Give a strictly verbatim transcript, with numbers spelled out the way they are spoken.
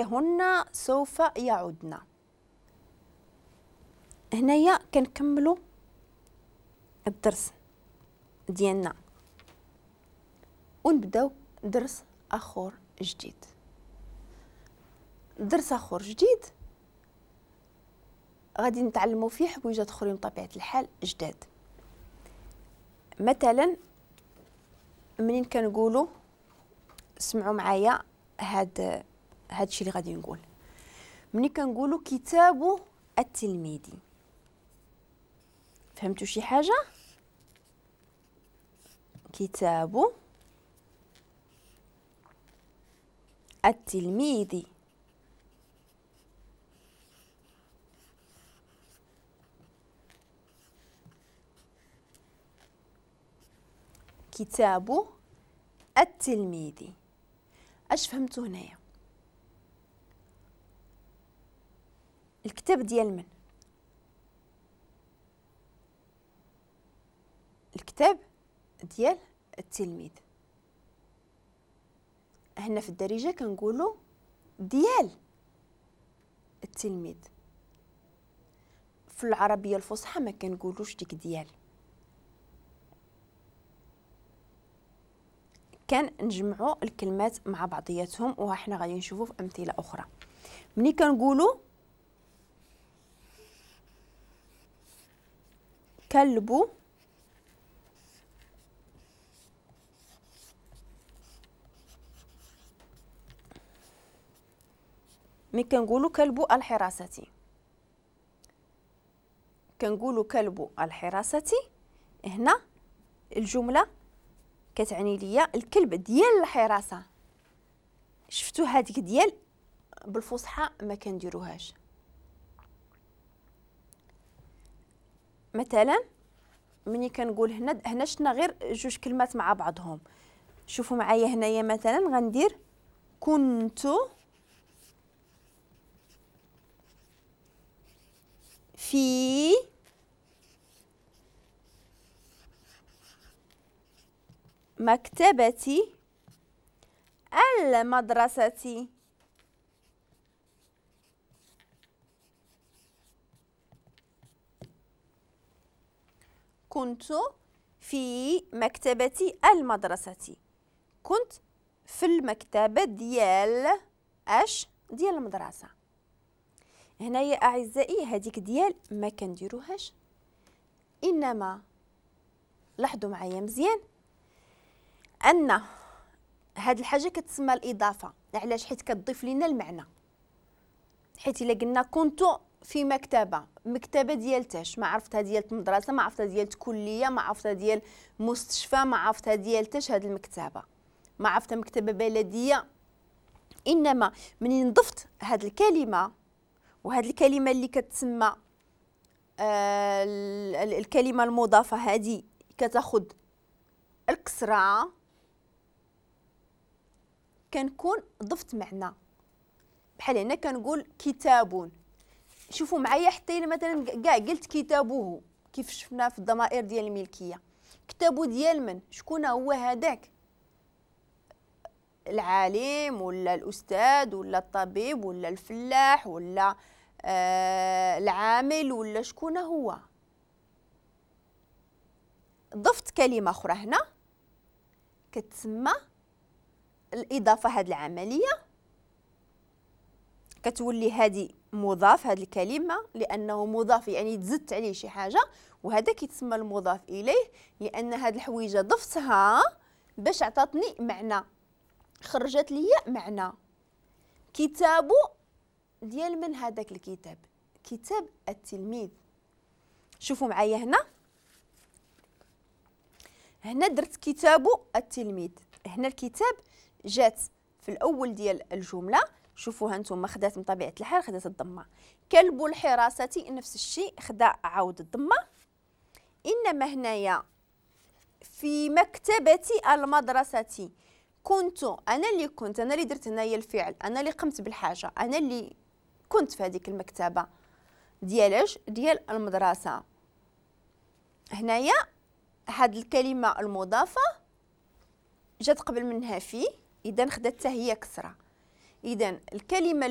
هن سوف يعودن. هنايا كنكملوا الدرس ديالنا ونبداو درس اخر جديد. درس اخر جديد غادي نتعلموا فيه حويجات اخرين بطبيعة الحال جداد. مثلا منين كنقولوا، سمعوا معايا هاد هاد الشيء اللي غادي نقول، منين كنقولوا كتاب التلميذ، فهمتوا شي حاجة؟ كتاب التلميذ، كتاب التلميذ. اش فهمتوا هنايا؟ الكتاب ديال من؟ الكتاب ديال التلميذ. هنا في الدارجة كنقولوا ديال التلميذ، في العربية الفصحى ما كنقولوش ديك ديال. كان نجمعوا الكلمات مع بعضياتهم، وحنا غادي نشوفوا في امثلة اخرى. ملي كنقولوا كلب ملي كنقولوا كلب الحراسة، كنقولوا كلب الحراسة، هنا الجملة كتعني ليا الكلب ديال الحراسة. شفتوا هذيك ديال بالفصحى ما كنديروهاش. مثلا ملي كنقول هنا، هنا شفنا غير جوج كلمات مع بعضهم. شوفوا معايا هنايا مثلا غندير كنت في مكتبة المدرسة. كنت في مكتبة المدرسة، كنت في المكتبة ديال اش؟ ديال المدرسة. هنايا أعزائي هذيك ديال ما كنديروهاش، إنما لاحظوا معايا مزيان أن هاد الحاجة كتسمى الإضافة. علاش؟ حيت كتضيف لنا المعنى. حيت إلا قلنا كنت في مكتبة، مكتبة ديال تاش؟ ما عرفتها ديال المدرسة، ما عرفتها ديال كلية، ما عرفتها ديال مستشفى، ما عرفتها ديال تاش هاد المكتبة، ما عرفتها مكتبة بلدية. إنما منين ضفت هاد الكلمة، وهاد الكلمة اللي كتسمى آه الكلمة المضافة هادي كتاخد الكسرة، كنكون ضفت معنى. بحال هنا كنقول كتاب. شوفوا معايا حتى الا مثلا كاع قلت كتابه، كيف شفنا في الضمائر ديال الملكية، كتابو ديال من؟ شكون هو هذاك؟ العالم ولا الاستاذ ولا الطبيب ولا الفلاح ولا آه العامل ولا شكون هو؟ ضفت كلمة اخرى هنا كتسمى الاضافة. هذه العملية كتولي هذه مضاف، هذه الكلمة لانه مضاف يعني تزدت عليه شي حاجة، وهذا كيتسمى المضاف اليه، لان هذه الحويجه ضفتها باش عطاتني معنى، خرجت لي معنى. كتابو ديال من هذاك الكتاب؟ كتاب التلميذ. شوفوا معايا هنا، هنا درت كتاب التلميذ، هنا الكتاب جات في الاول ديال الجملة. شوفوها انتم خدات من طبيعة الحال خدات الضمة. كلب الحراسة نفس الشيء خدا عاود الضمة. انما هنايا في مكتبه المدرسة كنت انا اللي كنت انا اللي درت هنايا الفعل، انا اللي قمت بالحاجة، انا اللي كنت في هذيك المكتبة ديالاش؟ ديال المدرسة. هنايا هاد الكلمة المضافة جات قبل منها في، اذا خدات حتى هي كسره. اذا الكلمة